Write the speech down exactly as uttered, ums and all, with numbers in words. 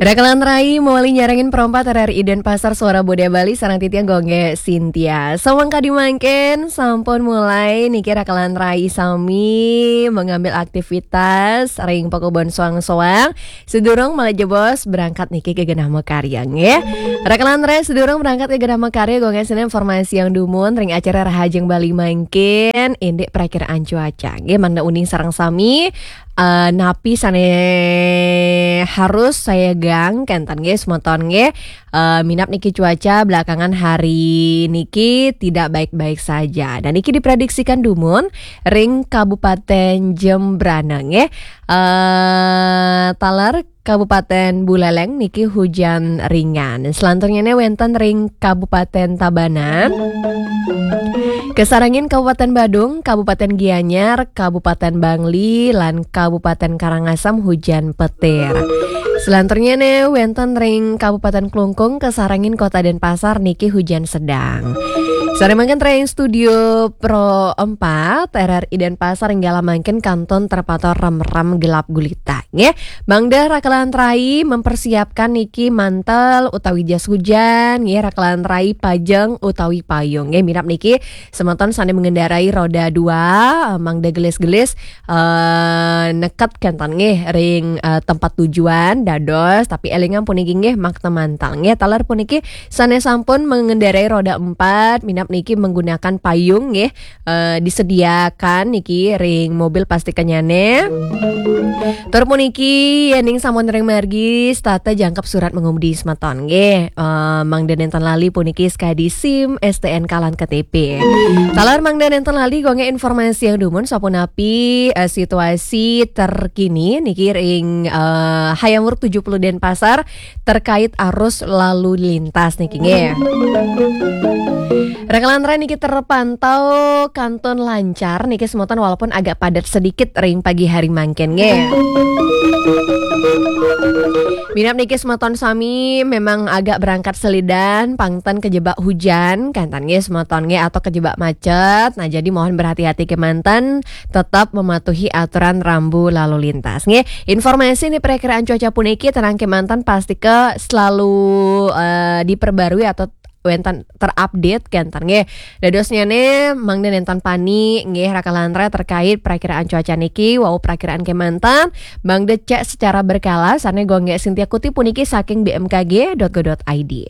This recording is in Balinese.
Rakalan rai mawali nyarengin perompat R R I Denpasar Suara Budaya Bali sareng titiang Gung Gé Sintia. Samangkadi mangkin sampun mulai niki rakalan rai sami mengambil aktivitas ring pakubon soang-soang. Sedurung malih jebos berangkat niki ka genah makarya nggih. Rakalan rai sedurung berangkat ka genah makarya Gung Gé Sintia informasiang dumun ring acara Rahajeng Bali mangkin indik prakiraan cuaca nggih mangda uning sareng sami eh, napi sané harus sayagang kénten nggih semeton nggih. Eh, minab niki cuaca belakangan hari niki tidak baik-baik saja. Dan niki diprediksikan dumun ring Kabupaten Jembrana nggih. Eh, taler Kabupaten Buleleng niki hujan ringan. Selanturnyané wénten ring Kabupaten Tabanan. Kasarengin Kabupaten Badung, Kabupaten Gianyar, Kabupaten Bangli, lan Kabupaten Karangasem hujan petir. Selanturnyané wénten ring Kabupaten Klungkung, kasarengin Kota Denpasar niki hujan sedang. Sané mangkin ring studio Pro empat R R I Denpasar inggih mangkin kantun terpantau remrem gelap gulita nggih. Mangda rakalan rai mempersiapkan niki mantel utawi jas hujan nggih, rakalan rai pajeng utawi payung nggih. Minab niki semeton sané mengendarai roda dua, eh, mangda gelis-gelis eh, neket kénten nggih ring eh, tempat tujuan dados, tapi élingang puniki nggih makta mantel nggih. Taler puniki sané sampun mengendarai roda empat, minab niki menggunakan payung nggih, eh, disediakan niki ring mobil pastikannyané. Tur puniki yéning sampun ring margi setata jangkep surat mengemudi semeton nggih. Eh, mangda nénten lali puniki sakadi SIM, STNK lan KTP. Taler mangda nénten lali Gung Gé informasiang dumun sapunapi eh, situasi terkini niki ring eh, Hayam Wuruk tujuh puluh Denpasar terkait arus lalu lintas niki nggih. Rakalan rai niki terpantau kantun lancar niki semeton walaupun agak padat sedikit ring pagi hari mangkin nggih. Minab niki semeton sami memang agak berangkat selidan, pang ten kejebak hujan, kénten nggih semeton nggih atau kejebak macet. Nah, jadi mohon berhati-hati kémanten, tetap mematuhi aturan rambu lalu lintas nggih. Informasi niki perakiraan cuaca puniki tenang kémanten pastika selalu eh, diperbarui atau wénten terupdate kénten nggih. Dadosnyané mangda nénten pani nggih rakalan rai terkait perakiraan cuaca niki wau perakiraan kémanten mangda cek secara berkala sané Gung Gé Sintia kutip puniki saking B M K G dot go dot I D.